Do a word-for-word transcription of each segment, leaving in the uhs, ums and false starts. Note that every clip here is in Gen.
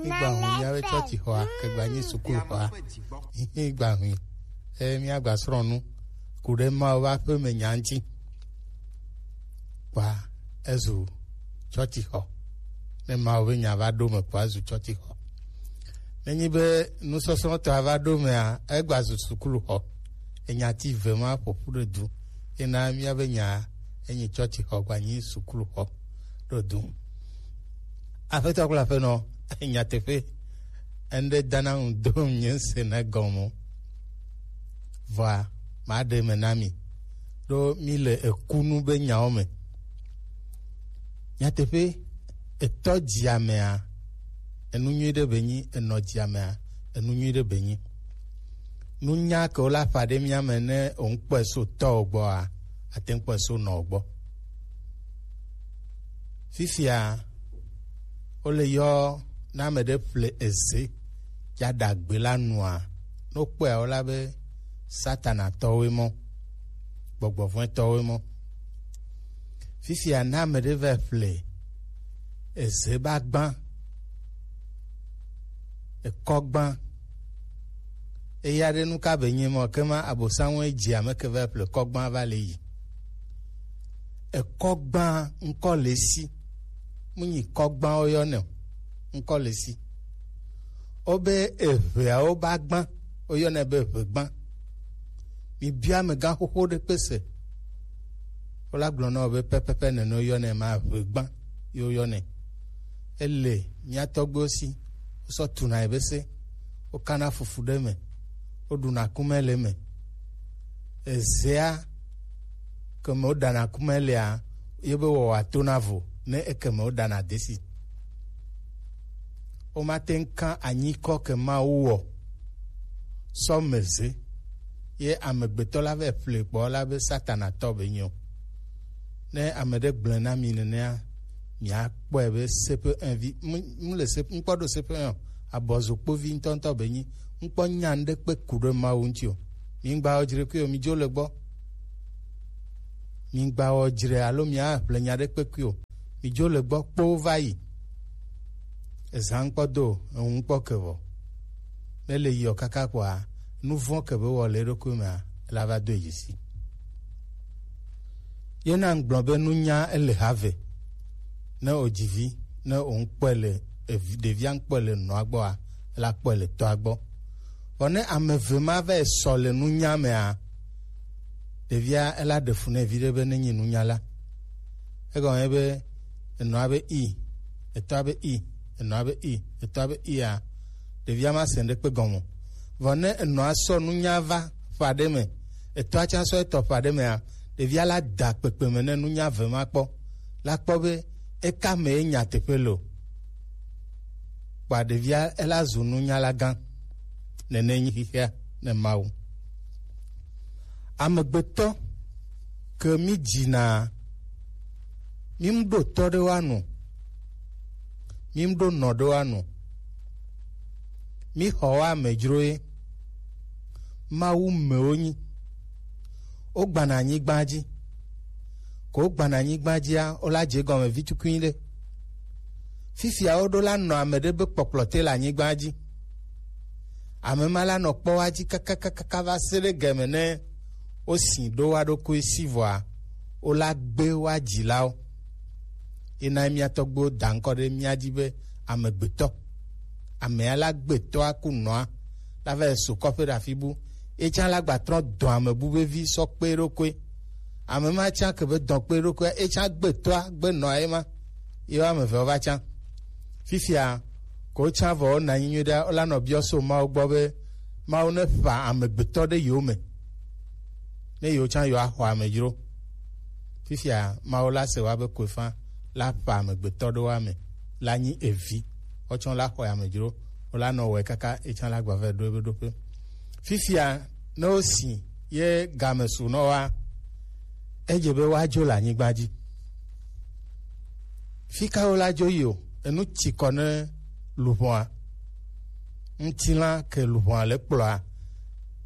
Igba hu miabe tsɔtsi xɔa kegba nyi sukulu xɔa. Igba hu e miagba srɔ̃ nu ku ɖe Mawu ƒe aƒeme nya ŋuti. Kpɔa ezu tsɔtsi xɔ. Ne Mawu be nya va ɖo me kpɔa ezu tsɔtsi xɔ. Nenyi be nusɔsrɔ̃tɔa va ɖo mea, egba zu sukulu xɔ. Enya ti ve ma ƒoƒu ɖe du. Ena miabe nya enyi tsɔtsi xɔ gba nyi sukulu xɔ ɖo du. Aƒetɔ kple aƒenɔ, nyateƒe, eŋɖe dana ŋu dom nye se ne gɔme o. Vɔa, maɖe me na mi, ɖo mi le ekunu be nyawo me. Nyateƒe, etɔ dzia mea, enu nyui ɖe be nyi, enɔ dzia mea, enu nyui ɖe be nyi. Nunya ke wo la ƒa ɖe mía me ne wo ŋkpɔe so tɔwo gbɔa, ate ŋu kpɔe so nɔwo gbɔ. Fifia, wole yɔ ne ame ɖe ƒle eze ya ɖagbe la nua, ne wokpɔe wo la be Satana tɔwoe mɔ, gbɔgbɔ vɔ̃e tɔwoe mɔ. Fifia ne ame ɖe va ƒle eze ba gbã, ekɔ gbã, eya ɖe nu ka be nye mɔ ke ma abosanwɔe dzi ame ke va ƒle kɔ gbã va le yi. Ekɔ gbã ŋkɔ le si. Mu nyi kɔ gbã woyɔ nɛ o. Ŋkɔ le si. Wobe eʋeawo ba gbã, woyɔnɛ be ʋegbã. Mibia amegã xoxo ɖe kpe se. Wola gblɔ na wo be pɛpɛpɛ nene woyɔnɛ ma, ʋegbã ye woyɔnɛ. Ele mía tɔgbuiwo si, wosɔ tuna ye be se, wokana fufu ɖe me, woɖuna kumɛ le eme. Ezea ke me woɖana kumɛ lea, ye be wɔwɔ atona vo ne eke me woɖana desi. Womate ŋu ka anyikɔ ke Mawu wɔ sɔ me ze, ye amegbetɔ la vɛ ƒle kpɔ la be Satana tɔ be nyo. Ne ame ɖe gblɔe na mi nenea, miakpɔe be sepe envi, mu le sepe, ŋkpɔ ɖo sepe ɔ, abɔzokpovi ŋutɔŋutɔ be nyi, ŋkpɔ nya ɖe kpe ku ɖe Mawu ŋuti o. Mi ŋgba wɔ dzre kui o, mi dzo le gbɔ. Mi ŋgba wɔ dzre alo mia ƒle nya ɖe kpe kui o. Mi dzo le gbɔ kpo va yi. Ezã ŋkpɔ do, eŋu ŋkpɔ ke vɔ. Ne le yiɔ kaka kpɔa, nu vɔ̃ ke be wɔ le eɖokui mea, la va do yi si. Ye na ŋgblɔ be nunya ele ha ve. Ne o dzivi, ne o ŋkpɔe le evi, ɖevia ŋkpɔe le nɔa gbɔa, la kpɔe le tɔa gbɔ. Vɔ ne ame eve ma va sɔ le nunya mea, ɖevia ela ɖe fu ne vi ɖe be ne nyi nunyala. Egɔme be enɔa be i, etɔa be i, enɔa be i, etɔa be ia, ɖevia ma se ŋɖekpe gɔme o. Vɔ ne enɔa sɔ nunya va ƒe aɖe me, etɔa tsã sɔ etɔ ƒe aɖe mea, ɖevia la da kpekpe me ne nunya ve ma kpɔ, la kpɔ be eka mee nyateƒe le o. Kpɔa ɖevia ela zu nunyala gã. Nene nyi xexea ne Mawu. Amegbetɔ ke mi dzina, mi mu ɖo tɔ ɖe wa nu, mi mu ɖo nɔ ɖe wa nu, mi xɔ wa amedzro ye. Mawu mewo nyi. Wogbana anyigba dzi. Ko wogbana anyigba dzia, wola dze gɔme vi tukui ɖe. Fifia woɖo la nɔ ame ɖe be kpɔkplɔ te le anyigba dzi. Ame ma la nɔ kpɔ wa dzi kakakaka va se ɖe gɛme ne wosi ɖo wa ɖokui si vɔa, wola gbe wa dzilawo. Ena mía tɔgbuiwo da ŋkɔ ɖe mía dzi be amegbetɔ. Amea la gbetɔa ku nɔa, la va yi su kɔƒe ɖe afi bu. Etsã la gba trɔ dɔ ame bu be vi sɔ kpe ɖokui. Ame ma tsã ke be dɔ kpe ɖokui, etsã gbetɔa gbe nɔa ye ma. Ye wo ame eve wo va tsã. Fifia, ko tsã vɔ wona anyi nyuie ɖe, wola nɔ biɔ so Mawu gbɔ be Mawu ne ƒa amegbetɔ ɖe yewo me. Ne yewo tsã yewo axɔ amedzro. Fifia, Mawu la se wa be koefa la ƒa amegbetɔ ɖe wa me, la nyi evi. Wotsɔ la xɔe amedzro, wola nɔ wɔe kaka etsã la gba va ɖo ebe ɖoƒe. Fifia, ne wosi ye game su nɔ wa, edze be woadzo le anyigba dzi. Fi ka wola dzo yi o, enu tsi kɔ ne luʋɔa. Ŋutilã ke luʋɔa le kplɔa,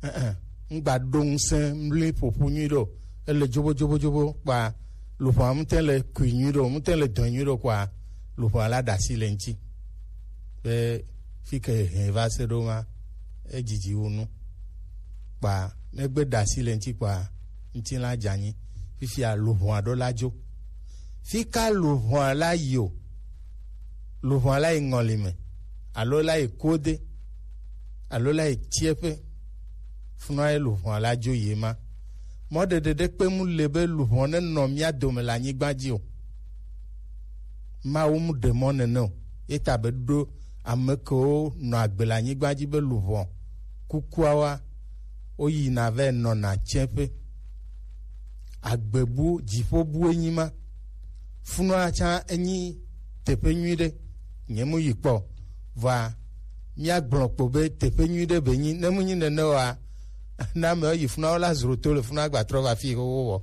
ɛ̃, ɛ̃, ŋgba ɖo ŋusẽ mli ƒoƒu nyui ɖo, ele dzobo, dzobo, dzobo, kpa luʋɔa ŋutɛ le kui nyui ɖo, ŋutɛ le dɔe nyui ɖo, kpa luʋɔa la ɖe asi le ŋuti. Be fi ke hɛn va se ɖo ma, edzidzi wu nu. Kpa ne gbe ɖe asi le ŋuti kpa, ŋutilã dze anyi. Fifia luʋɔa ɖo la dzo. Fi ka luʋɔa la yi o? Luʋɔa la yi ŋɔli me, alo la yi kode, alo la yi tieƒe. Funua ye luʋɔa la dzo yi ma. Mɔɖeɖe ɖe kpe mu le be luʋɔ nenɔ mía dome le anyigba dzi o. Mawu mu ɖe mɔ nene o. Ye ta be ɖo ame kewo nɔ agbe le anyigba dzi be luʋɔ kukuawoa, woyina vɛ nɔna tseƒe. Agbebu, dziƒobu enyi ma. Funua tsã enyi teƒe nyui ɖe. Nye mu yi kpɔ. Vɔa, míagblɔ kpo be teƒe nyui ɖe be nyi. Ne mu nyi nene oa, ne amewo yi funua, wola zro to le funua gba trɔ va fi xoxo wɔ.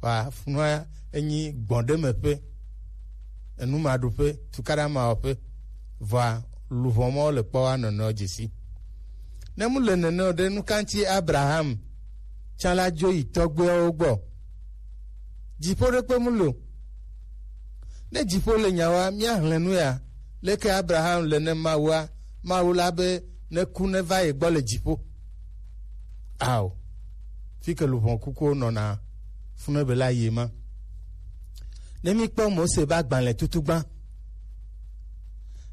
Vɔa, funua enyi gbɔ̃ɖemeƒe, enumaɖuƒe, tukaɖamawɔƒe. Vɔa, luʋɔ mɔ le kpɔ wa nɔnɔ dzesi. Ne mu le nene o ɖe, nu ka ŋuti Abraham tsã la dzo yi tɔgbuiawo gbɔ? Dziƒo ɖe kpe mu le o. Ne dziƒo le nyawoa, míahlẽ nu ya. Leke Abraham le ne Mawua? Mawu la be ne ku ne va ye gbɔ le dziƒo. Ao, fi ke luʋɔ kukuwo nɔna, funu be la yi ma. Ne mi kpɔ Mose ba gbalẽ tutu gbã,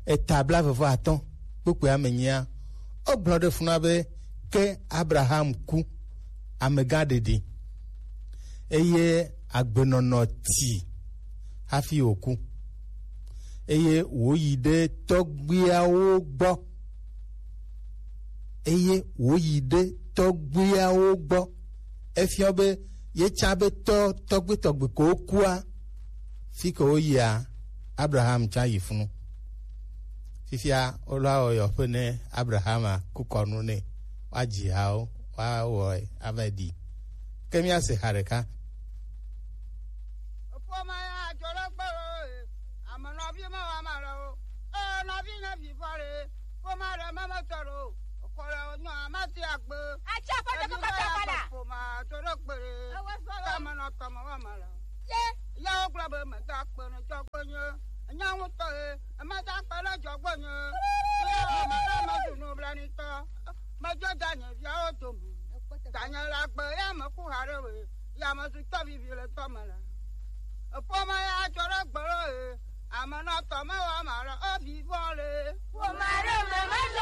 eta blaeve vɔ atɔ̃ kpukpui ame nyia, wogblɔ ɖe funua be ke Abraham ku, amegã ɖeɖi, eye agbenɔnɔ ti hafi wòku, eye wòyi ɖe tɔgbuiawo gbɔ, eye wòyi ɖe tɔgbuiawo gbɔ. Efiɔ be ye tsã be tɔ tɔgbuitɔgbui ko kua, fi ke woyia, Abraham tsã yi funu. Fifia wole awɔ yɔƒe ne Abrahama ku kɔnu nɛ, woadzi hawo, woawɔe ava ɖi. Ke míase ha ɖeka. Ƒome ya dzo ɖe gbe lo, e, ame nɔvi me wa ma le o. E, nɔvi ne vi vɔ le, ƒome ɖe me me tɔ ɖo. Kɔ le nyɔ amati agbe. Atsi afɔ ɖe kɔkɔ tɔ kpala. Ƒome dzo ɖe gbe le. Ewe sɔ lo. Kame nɔ tɔ me wa ma le. Ye. Ya wo gblɔ be me da kpe ne dzɔgbe nye. Nya ŋutɔ ye, ema da kpe ne dzɔgbe nye. Ya me le me zu nublanitɔ. Me dzo da nye viawo dome. Danye le agbe ya me ku ha ɖe we. Ya me zu tɔ vivi le tɔ me le. Eƒome ya dzo ɖe gbe lo ye. Ame nɔ tɔ me wa ma le. O vi vɔ le. Ƒome ɖe me me